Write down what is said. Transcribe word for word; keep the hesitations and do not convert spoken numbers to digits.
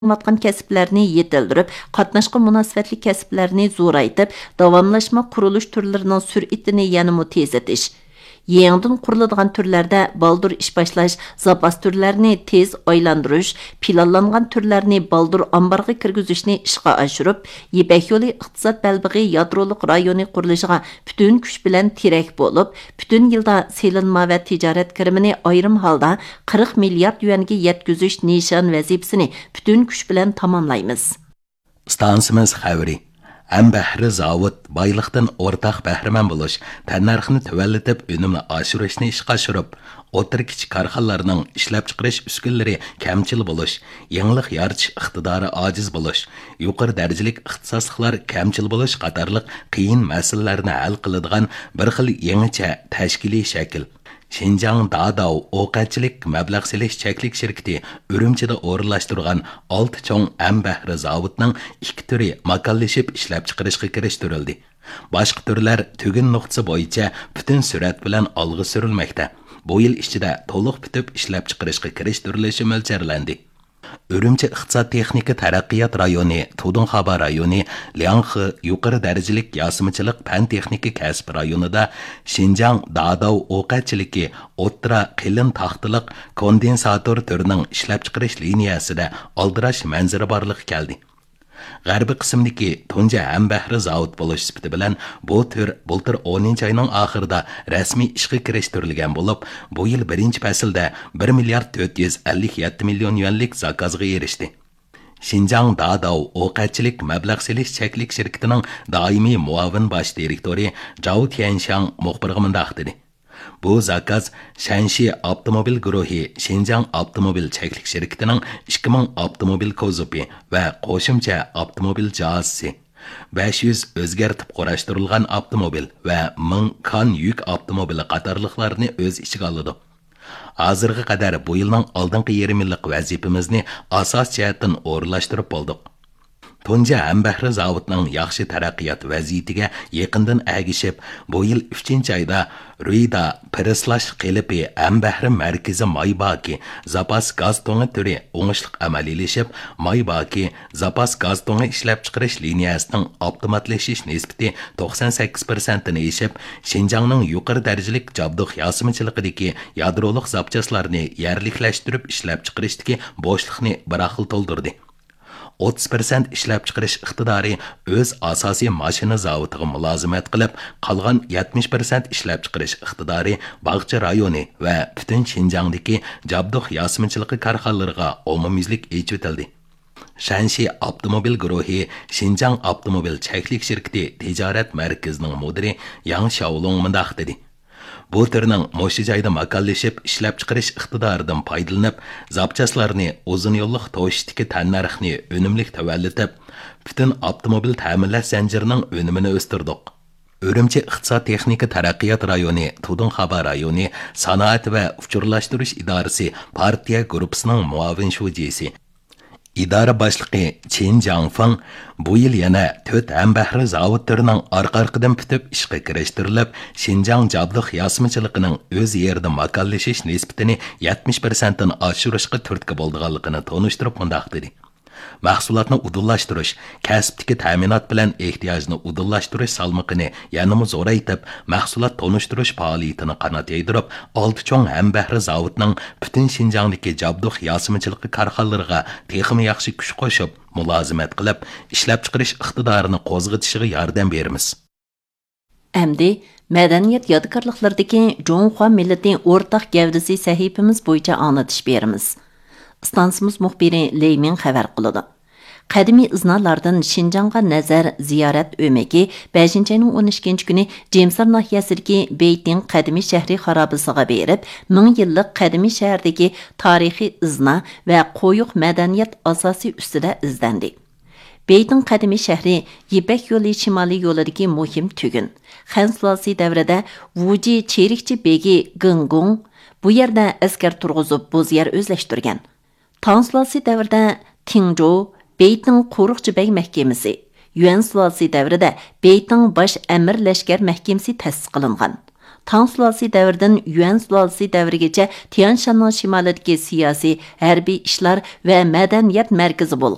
قىلىنىۋاتقان كەسىپلەرنى يېتىلدۈرۈپ، قاتناشقا مۇناسىۋەتلىك كەسىپلەرنى زورايتىپ، داۋاملاشما قۇرۇلۇش تۈرلىرىنىڭ سۈرئىتىنى يەنىمۇ تېزلىتىش. يېڭىدىن قۇرۇلىدىغان تۈرلەردە بالدۇر ئىش باشلاش، زاپاس تۈرلەرنى تېز ئايلاندۇرۇش، پىلانلانغان تۈرلەرنى بالدۇر ئامبارغا كىرگۈزۈشنى ئىشقا ئاشۇرۇپ، يىپەك يولى ئىقتىساد بەلبېغى يادرولۇق رايونى قۇرۇلۇشىغا پۈتۈن كۈچ بىلەن تىرەك بولۇپ، پۈتۈن يىلدا سېلىنما ۋە تىجارەت كىرىمىنى ئايرىم ھالدا قىرىق مىليارد يۈەنگە يەتكۈزۈش نىشان ۋەزىپىسىنى پۈتۈن كۈچ بىلەن تاماملايمىز. ئىستانسىمىز خەۋىرى. ھەمبەھرە زاۋۇت بايلىقتىن ئورتاق بەھرىمەن بولۇش، تەننەرخنى تۆۋەنلىتىپ، ئۈنۈمنى ئاشۇرۇشنى ئىشقا ئاشۇرۇپ، ئوتتۇرا، كىچىك كارخانىلارنىڭ ئىشلەپچىقىرىش ئۈسكۈنىلىرى كەمچىل بولۇش، يېڭىلىق يارىتىش ئىقتىدارى ئاجىز بولۇش، يۇقىرى دەرىجىلىك ئىختىساسلىقلار كەمچىل بولۇش قاتارلىق قىيىن مەسىلىلەرنى ھەل قىلىدىغان بىر خىل يېڭىچە تەشكىلىي شەكىل. شىنجاڭ داداۋ ئوقەتچىلىك مەبلەغ سېلىش چەكلىك شىركىتى ئۈرۈمچىدە ئورۇنلاشتۇرغان ئالتە چوڭ ھەمبەھرە زاۋۇتنىڭ ئىككى تۈرى ماكانلىشىپ ئىشلەپچىقىرىشقا كىرىشتۈرۈلدى. باشقا تۈرلەر تۈگۈن نۇقتىسى بويىچە پۈتۈن سۈرئەت بىلەن ئالغا سۈرۈلمەكتە. بۇ يىل ئىچىدە تولۇق پۈتۈپ ئىشلەپچىقىرىشقا كىرىشتۈرۈلۈشى مۆلچەرلەندى. ئۈرۈمچى ئىقتىساد تېخنىكا تەرەققىيات رايونى، تۇدۇڭخابا رايونى، لياڭخې يۇقىرى دەرىجىلىك ياسىمىچىلىق پەن تېخنىكا كەسىپ رايونىدا شىنجاڭ داداۋ ئوقەتچىلىكى ئوتتۇرا قېلىن تاختىلىق كوندېنساتور تۈرىنىڭ ئىشلەپچىقىرىش لىنىيەسىدە ئالدىراش مەنزىرە بارلىققا كەلدى. غەربىي قىسىمدىكى تۇنجى ھەمبەھرە زاۋۇت بولۇش سۈپىتى بىلەن بۇ تۈر بۇلتۇر ئونىنچى ئاينىڭ ئاخىرىدا رەسمىي ئىشقا كىرىشتۈرۈلگەن بولۇپ، بۇ يىل بىرىنچى پەسىلدە بىر مىليارد تۆت يۈز ئەللىك يەتتە مىليون يۈەنلىك زاكازغا ئېرىشتى. شىنجاڭ داداۋ ئوقەتچىلىك مەبلەغ سېلىش چەكلىك شىركىتىنىڭ دائىمىي مۇئاۋىن باش دىرېكتورى جاۋ تيەنشياڭ مۇخبىرغا مۇنداق دېدى: بۇ زاكاز شەنشى ئاپتوموبىل گۇرۇھى شىنجاڭ ئاپتوموبىل چەكلىك شىركىتىنىڭ ئىككى مىڭ ئاپتوموبىل كوزۇپى ۋە قوشۇمچە ئاپتوموبىل جاھازىسى، بەش يۈز ئۆزگەرتىپ قۇراشتۇرۇلغان ئاپتوموبىل ۋە مىڭ كان يۈك ئاپتوموبىلى قاتارلىقلارنى ئۆز ئىچىگە ئالىدۇ. ھازىرغا قەدەر بۇ يىلنىڭ ئالدىنقى يېرىم يىللىق ۋەزىپىمىزنى ئاساس جەھەتتىن ئورۇنلاشتۇرۇپ بولدۇق. تۇنجى ھەمبەھرە زاۋۇتنىڭ ياخشى تەرەققىيات ۋەزىيىتىگە يېقىندىن ئەگىشىپ، بۇ يىل ئۈچىنچى ئايدا رۇيدا پىرېسلاش قېلىپى ھەمبەھرە مەركىزى مايباكى زاپاس گاز تۇڭى تۈرى ئوڭۇشلۇق ئەمەلىيلىشىپ، مايباكى زاپاس گاز تۇڭى ئىشلەپچىقىرىش لىنىيەسىنىڭ ئاپتوماتلىشىش نىسبىتى توقسان سەككىز پىرسەنتتىن ئېشىپ، شىنجاڭنىڭ يۇقىرى دەرىجىلىك جابدۇق ياسىمىچىلىقىدىكى يادرولۇق زاپچاسلارنى يەرلىكلەشتۈرۈپ ئىشلەپچىقىرىشتىكى بوشلۇقنى بىراقلا تولدۇردى. ئوتتۇز پىرسەنت ئىشلەپچىقىرىش ئىقتىدارى ئۆز ئاساسىي ماشىنا زاۋۇتىغا مۇلازىمەت قىلىپ، قالغان يەتمىش پىرسەنت ئىشلەپچىقىرىش ئىقتىدارى باغچە رايونى ۋە پۈتۈن شىنجاڭدىكى جابدۇق ياسىمىچىلىقى كارخانىلىرىغا ئومۇميۈزلۈك ئېچىۋېتىلدى. شەنشى ئاپتوموبىل گۇرۇھى شىنجاڭ ئاپتوموبىل چەكلىك شىركىتى تىجارەت مەركىزىنىڭ مۇدىرى ياڭ شياۋلۇڭ مۇنداق دېدى: بۇ تۈرنىڭ مۇشۇ جايدا ماكانلىشىپ ئىشلەپچىقىرىش ئىقتىدارىدىن پايدىلىنىپ، زاپچاسلارنى ئۇزۇن يوللۇق توشۇشتىكى تەننەرخنى ئۈنۈملۈك تۆۋەنلىتىپ، پۈتۈن ئاپتوموبىل تەمىنلەش زەنجىرىنىڭ ئۈنۈمىنى ئۆستۈردۇق. ئۈرۈمچى ئىقتىساد تېخنىكا تەرەققىيات رايونى، تۇدۇڭخابا رايونى سانائەت ۋە ئۇچۇرلاشتۇرۇش ئىدارىسى پارتىيە گۇرۇپپىسىنىڭ مۇئاۋىن شۇجىسى، ئىدارە باشلىقى چىن جاڭفېڭ بۇ يىل يەنە تۆت ھەمبەھرە زاۋۇت تۈرىنىڭ ئارقا-ئارقىدىن پۈتۈپ ئىشقا كىرىشتۈرۈلۈپ، شىنجاڭ جابدۇق ياسىمىچىلىقىنىڭ ئۆز يېرىدا ماكانلىشىش نىسبىتىنى يەتمىش پىرسەنتتىن ئاشۇرۇشقا تۈرتكە بولىدىغانلىقىنى تونۇشتۇرۇپ مۇنداق دېدى: مەھسۇلاتنى ئۇدۇللاشتۇرۇش، كەسىپتىكى تەمىنات بىلەن ئېھتىياجنى ئۇدۇللاشتۇرۇش سالمىقىنى يەنىمۇ زورايتىپ، مەھسۇلات تونۇشتۇرۇش پائالىيىتىنى قانات يايدۇرۇپ، ئالتە چوڭ ھەمبەھرە زاۋۇتنىڭ پۈتۈن شىنجاڭدىكى جابدۇق ياسىمىچىلىقى كارخانىلىرىغا تېخىمۇ ياخشى كۈچ قوشۇپ، مۇلازىمەت قىلىپ، ئىشلەپچىقىرىش ئىقتىدارىنى قوزغىتىشىغا ياردەم بېرىمىز. ئەمدى مەدەنىيەت يادىكارلىقلىرىدىكى جۇڭخۇا مىللىتى ئورتاق گەۋدىسى سەھىپىمىز بويىچە ئاڭلىتىش بېرىمىز. ئىستانسىمىز مۇخبىرى لېي مىڭ خەۋەر قىلىدۇ. قەدىمىي ئىزنالاردىن شىنجاڭغا نەزەر زىيارەت ئۆمىكى بەشىنچى ئاينىڭ ئون ئىككىنچى كۈنى جېمسار ناھىيەسىدىكى بېيتىڭ قەدىمىي شەھىرى خارابىسىغا بېرىپ، مىڭ يىللىق قەدىمىي شەھەردىكى تارىخىي ئىزنا ۋە قويۇق مەدەنىيەت ئاساسى ئۈستىدە ئىزدەندى. بېيتىڭ قەدىمىي شەھىرى يىپەك يولى شىمالىي يولىدىكى مۇھىم تۈگۈن. خەن سۇلالىسى دەۋرىدە ۋۇجى چېرىكچى بېگى گېڭگۇڭ بۇ يەردە ئەسكەر تۇرغۇزۇپ، بوز يەر ئۆزلەشتۈرگەن. تاڭ سۇلالىسى دەۋرىدە تىڭجۇ، بېيتىڭ قورۇقچى بەگ مەھكىمىسى، يۈەن سۇلالىسى دەۋرىدە بېيتىڭ باش ئەمىر لەشكەر مەھكىمىسى تەسىس قىلىنغان. تاڭ سۇلالىسى دەۋرىدىن يۈەن سۇلالىسى دەۋرىگىچە تيەنشاننىڭ شىمالىدىكى سىياسىي، ھەربىي ئىشلار ۋە مەدەنىيەت مەركىزى بولغان.